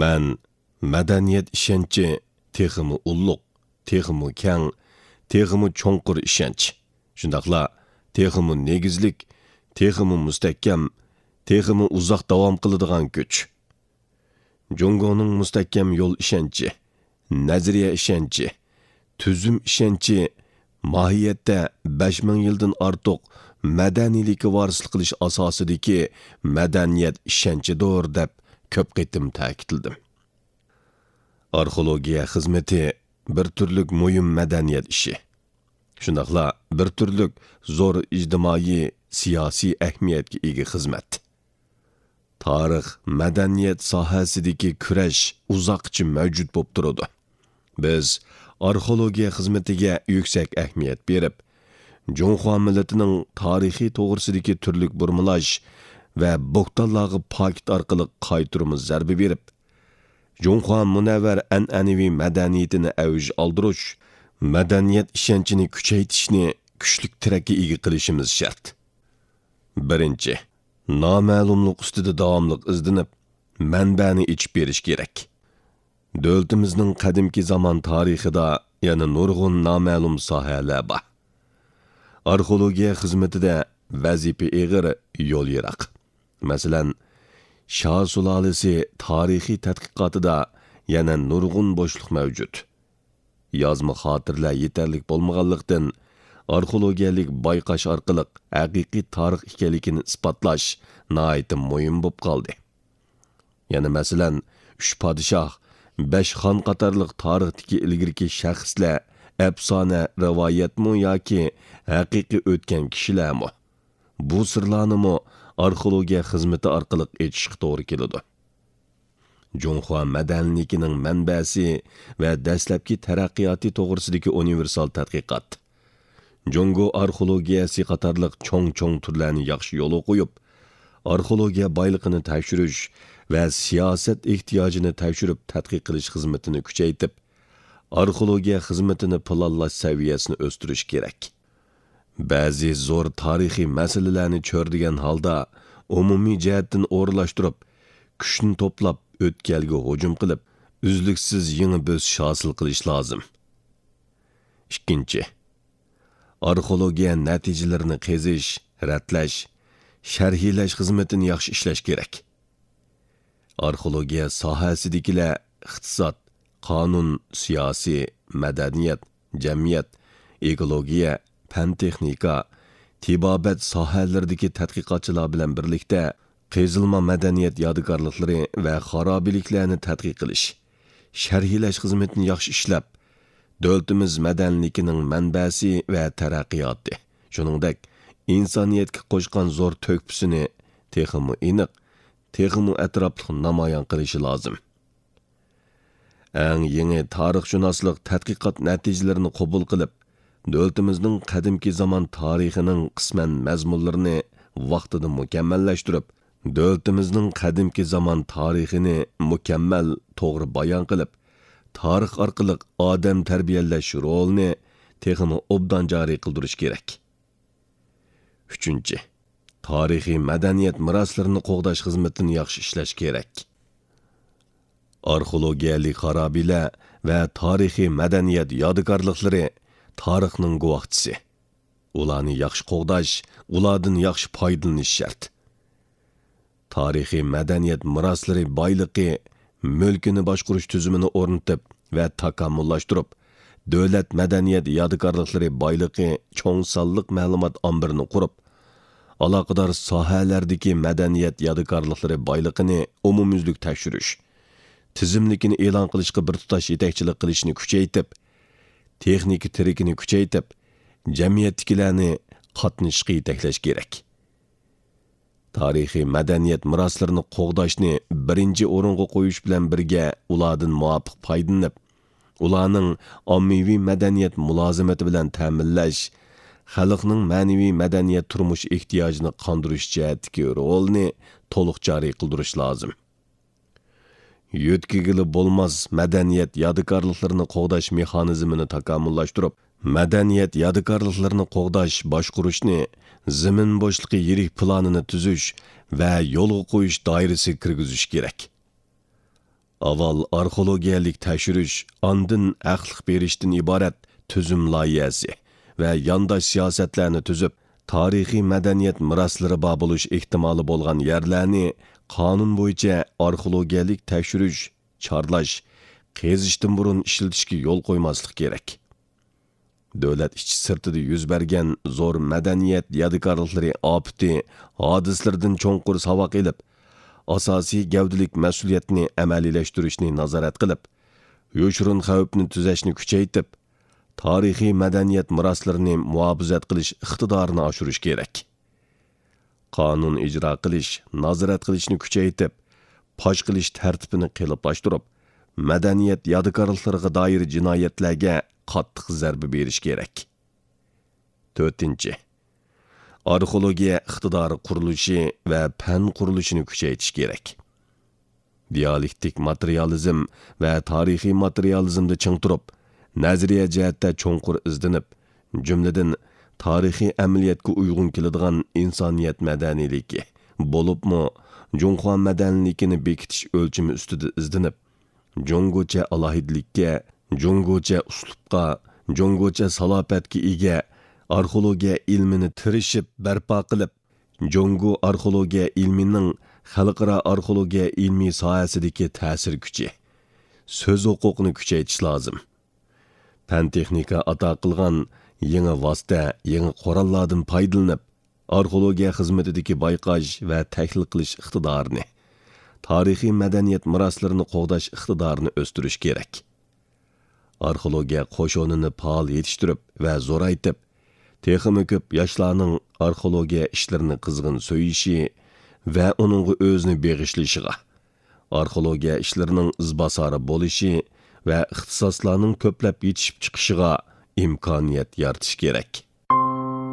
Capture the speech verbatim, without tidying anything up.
مەن مەدەنىيەت ئىشەنچى تېخىمۇ ئۇللۇق، تېخىمۇ كەڭ، تېخىمۇ چوڭقۇر ئىشەنچ، شۇنداقلا تېخىمۇ نېگىزلىك، تېخىمۇ مۇستەھكەم، تېخىمۇ ئۇزاق داۋام قىلىدىغان كۈچ. جۇڭگونىڭ مۇستەھكەم يول ئىشەنچى، نەزەرىيە ئىشەنچى، تۈزۈم ئىشەنچى ماھىيەتتە بەش مىڭ يىلدىن ئارتۇق مەدەنىيلىككە ۋارىسلىق قىلىش ئاساسىدىكى مەدەنىيەت ئىشەنچىدۇر، دەپ كۆپ قېتىم تەكىتلىدىم. ئارخېئولوگىيە خىزمىتى بىر تۈرلۈك مۇھىم مەدەنىيەت ئىشى، شۇنداقلا بىر تۈرلۈك زور ئىجتىمائىي، سىياسىي ئەھمىيەتكە ئىگە خىزمەت. تارىخ، مەدەنىيەت ساھەسىدىكى كۈرەش ئۇزاققىچە مەۋجۇت بولۇپ تۇرىدۇ. بىز ئارخېئولوگىيە خىزمىتىگە يۈكسەك ئەھمىيەت بېرىپ، جۇڭخۇا مىللىتىنىڭ تارىخى توغرىسىدىكى تۈرلۈك بۇرمىلاش ۋە بوھتانلارغا پاكىت ئارقىلىق قايتۇرما زەربە بېرىپ، جۇڭخۇا مۇنەۋۋەر ئەنئەنىۋى مەدەنىيىتىنى ئەۋج ئالدۇرۇش، مەدەنىيەت ئىشەنچىنى كۈچەيتىشنى كۈچلۈك تىرەككە ئىگە قىلىشىمىز شەرت. بىرىنچى، نامەلۇملۇق ئۈستىدە داۋاملىق ئىزدىنىپ، مەنبەنى ئېچىپ بېرىش كېرەك. دۆلىتىمىزنىڭ قەدىمكى زامان تارىخىدا يەنە نۇرغۇن نامەلۇم ساھەلەر بار. ئارخېئولوگىيە خىزمىتىدە ۋەزىپە ئېغىر، يول يىراق. مەسىلەن، شاھ سۇلالىسى تارىخىي تەتقىقاتىدا يەنە نۇرغۇن بوشلۇق مەۋجۇت. يازما خاتىرىلەر يېتەرلىك بولمىغانلىقتىن، ئارخېئولوگىيەلىك بايقاش ئارقىلىق ھەقىقىي تارىخ ئىكەنلىكىنى ئىسپاتلاش ناھايىتى مۇھىم بولۇپ قالدى. يەنە مەسىلەن، ئۈچ پادىشاھ، بەش خان قاتارلىق تارىختىكى ئىلگىرىكى شەخسلەر ئەپسانە، رىۋايەتمۇ ياكى ھەقىقىي ئۆتكەن كىشىلەرمۇ؟ بۇ سىرلارنىمۇ ئارخېئولوگىيە خىزمىتى ئارقىلىق ئېچىشقا توغرا كېلىدۇ. جۇڭخۇا مەدەنىيلىكىنىڭ مەنبەسى ۋە دەسلەپكى تەرەققىياتى توغرىسىدىكى ئۇنىۋېرسال تەتقىقات. جۇڭگو ئارخېئولوگىيەسى قاتارلىق چوڭ-چوڭ تۈرلەرنى ياخشى يولغا قويۇپ، ئارخېئولوگىيە بايلىقىنى تەكشۈرۈش ۋە سىياسەت ئېھتىياجىنى تەكشۈرۈپ تەتقىق قىلىش خىزمىتىنى كۈچەيتىپ، ئارخېئولوگىيە خىزمىتىنى پىلانلاش سەۋىيەسىنى ئۆستۈرۈش كېرەك. بەزى زور تارىخىي مەسىلىلەرنى چۆرىدىگەن ھالدا ئومۇمىي جەھەتتىن ئورۇنلاشتۇرۇپ، كۈچنى توپلاپ، ئۆتكەلگە ھۇجۇم قىلىپ، ئۈزلۈكسىز يېڭى بۆسۈش ھاسىل قىلىش لازىم. ئىككىنچى، ئارخېئولوگىيە نەتىجىلىرىنى قېزىش، رەتلەش، شەرھلەش خىزمىتىنى ياخشى ئىشلەش كېرەك. ئارخېئولوگىيە ساھەسىدىكىلەر ئىقتىساد، قانۇن، سىياسىي، مەدەنىيەت، جەمئىيەت، ئېكولوگىيە، پەن-تېخنىكا، تېبابەت ساھەلىرىدىكى تەتقىقاتچىلار بىلەن بىرلىكتە، قېزىلما مەدەنىيەت يادىكارلىقلىرى ۋە خارابىلىكلەرنى تەتقىق قىلىش، شەرھلەش خىزمىتىنى ياخشى ئىشلەپ، دۆلىتىمىز مەدەنىيلىكىنىڭ مەنبەسى ۋە تەرەققىياتى، شۇنىڭدەك ئىنسانىيەتكە قوشقان زور تۆھپىسىنى تېخىمۇ ئېنىق، تېخىمۇ ئەتراپلىق نامايان قىلىشى لازىم. ئەڭ يېڭى تارىخشۇناسلىق تەتقىقات نەتىجىلىرىنى قوبۇل قىلىپ، دۆلىتىمىزنىڭ قەدىمكى زامان تارىخىنىڭ قىسمەن مەزمۇنلىرىنى ۋاقتىدا مۇكەممەللەشتۈرۈپ، دۆلىتىمىزنىڭ قەدىمكى زامان تارىخىنى مۇكەممەل، توغرا بايان قىلىپ، تارىخ ئارقىلىق ئادەم تەربىيەلەش رولىنى تېخىمۇ ئوبدان جارى قىلدۇرۇش كېرەك. ئۈچىنچى، تارىخىي مەدەنىيەت مىراسلىرىنى قوغداش خىزمىتىنى ياخشى ئىشلەش كېرەك. ئارخېئولوگىيەلىك خارابىلەر ۋە تارىخىي مەدەنىيەت يادىكارلىقلىرى تارىخنىڭ گۇۋاھچىسى. ئۇلارنى ياخشى قوغداش، ئۇلاردىن ياخشى پايدىلىنىش شەرت. تارىخىي مەدەنىيەت مىراسلىرى بايلىقى مۈلكىنى باشقۇرۇش تۈزۈمىنى ئورنىتىپ ۋە تاكامۇللاشتۇرۇپ، دۆلەت مەدەنىيەت يادىكارلىقلىرى بايلىقى چوڭ سانلىق مەلۇمات ئامبىرىنى قۇرۇپ، ئالاقىدار ساھەلەردىكى مەدەنىيەت يادىكارلىقلىرى بايلىقىنى ئومۇميۈزلۈك تەكشۈرۈش، تىزىملىكىنى ئېلان قىلىشقا بىر تۇتاش يېتەكچىلىك قىلىشنى كۈچەيتىپ، تېخنىكا تىرىكىنى كۈچەيتىپ، جەمئىيەتتىكىلەرنى قاتنىشىشقا يېتەكلەش كېرەك. تارىخىي مەدەنىيەت مىراسلىرىنى قوغداشنى بىرىنچى ئورۇنغا قويۇش بىلەن بىرگە، ئۇلاردىن مۇۋاپىق پايدىلىنىپ، ئۇلارنىڭ ئاممىۋى مەدەنىيەت مۇلازىمىتى بىلەن تەمىنلەش، خەلقنىڭ مەنىۋى مەدەنىيەت تۇرمۇش ئېھتىياجىنى قاندۇرۇش جەھەتتىكى رولىنى تولۇق جارى قىلدۇرۇش لازىم. يۆتكىگىلى بولماس مەدەنىيەت يادىكارلىقلىرىنى قوغداش مېخانىزمىنى تاكامۇللاشتۇرۇپ، مەدەنىيەت يادىكارلىقلىرىنى قوغداش، باشقۇرۇشنى زېمىن بوشلۇقى يىرىك پىلانىنى تۈزۈش ۋە يولغا قويۇش دائىرىسىگە كىرگۈزۈش كېرەك. ئاۋۋال ئارخېئولوگىيەلىك تەكشۈرۈش، ئاندىن ھەقلىق بېرىشتىن ئىبارەت تۈزۈم لايىھەسى ۋە يانداش سىياسەتلەرنى تۈزۈپ، تارىخىي مەدەنىيەت مىراسلىرى بار بولۇش ئېھتىمالى بولغان يەرلەرنى قانۇن بويىچە ئارخېئولوگىيەلىك تەكشۈرۈش، چارلاش، قېزىشتىن بۇرۇن ئىشلىتىشكە يول قويماسلىق كېرەك. دۆلەت ئىچى سىرتىدا يۈز بەرگەن زور مەدەنىيەت يادىكارلىقلىرى ئاپىتى ھادىسىلىرىدىن چوڭقۇر ساۋاق ئېلىپ، ئاساسىي گەۋدىلىك مەسئۇلىيەتنى ئەمەلىيلەشتۈرۈشنى نازارەت قىلىپ، يوشۇرۇن خەۋپنى تۈزەشنى كۈچەيتىپ، تارىخىي مەدەنىيەت مىراسلىرىنى مۇھاپىزەت قىلىش ئىقتىدارىنى ئاشۇرۇش كېرەك. قانۇن ئىجرا قىلىش، نازارەت قىلىشنى كۈچەيتىپ، پاش قىلىش تەرتىپىنى قېلىپلاشتۇرۇپ، مەدەنىيەت يادىكارلىقلىرىغا دائىر جىنايەتلەرگە قاتتىق زەربە بېرىش كېرەك. تۆتىنچى، ئارخېئولوگىيە ئىقتىدارى قۇرۇلۇشى ۋە پەن قۇرۇلۇشىنى كۈچەيتىش كېرەك. دىئالېكتىك ماتېرىيالىزم ۋە تارىخىي ماتېرىيالىزمدا چىڭ تۇرۇپ، نەزەرىيە جەھەتتە چوڭقۇر ئىزدىنىپ، جۈملىدىن، تارىخىي ئەمەلىيەتكە ئۇيغۇن كېلىدىغان ئىنسانىيەت مەدەنىيلىكى، بولۇپمۇ جۇڭخۇا مەدەنىيلىكىنى بېكىتىش ئۆلچىمى ئۈستىدە ئىزدىنىپ، جۇڭگوچە ئالاھىدىلىككە، جۇڭگوچە ئۇسلۇبقا، جۇڭگوچە سالاپەتكە ئىگە ئارخېئولوگىيە ئىلمىنى تىرىشىپ بەرپا قىلىپ، جۇڭگو ئارخېئولوگىيە ئىلمىنىڭ خەلقئارا ئارخېئولوگىيە ئىلمىي ساھەسىدىكى تەسىر كۈچى، سۆز ھوقۇقىنى كۈچەيتىش لازىم. پەن-تېخنىكا ئاتا قىلغان يېڭى ۋاسىتە، يېڭى قوراللاردىن پايدىلىنىپ، ئارخېئولوگىيە خىزمىتىدىكى بايقاش ۋە تەھلىل قىلىش ئىقتىدارىنى، تارىخىي مەدەنىيەت مىراسلىرىنى قوغداش ئىقتىدارىنى ئۆستۈرۈش كېرەك. ئارخېئولوگىيە قوشۇنىنى پائال يېتىشتۈرۈپ ۋە زورايتىپ، تېخىمۇ كۆپ ياشلارنىڭ ئارخېئولوگىيە ئىشلىرىنى قىزغىن سۆيۈشى ۋە ئۇنىڭغا ئۆزىنى بېغىشلىشىغا، ئارخېئولوگىيە ئىشلىرىنىڭ ئىزباسارى بولۇشى ۋە ئىختىساسلارنىڭ كۆپلەپ يېتىشىپ چىقىشىغا ئىمكانىيەت يارىتىش كېرەك.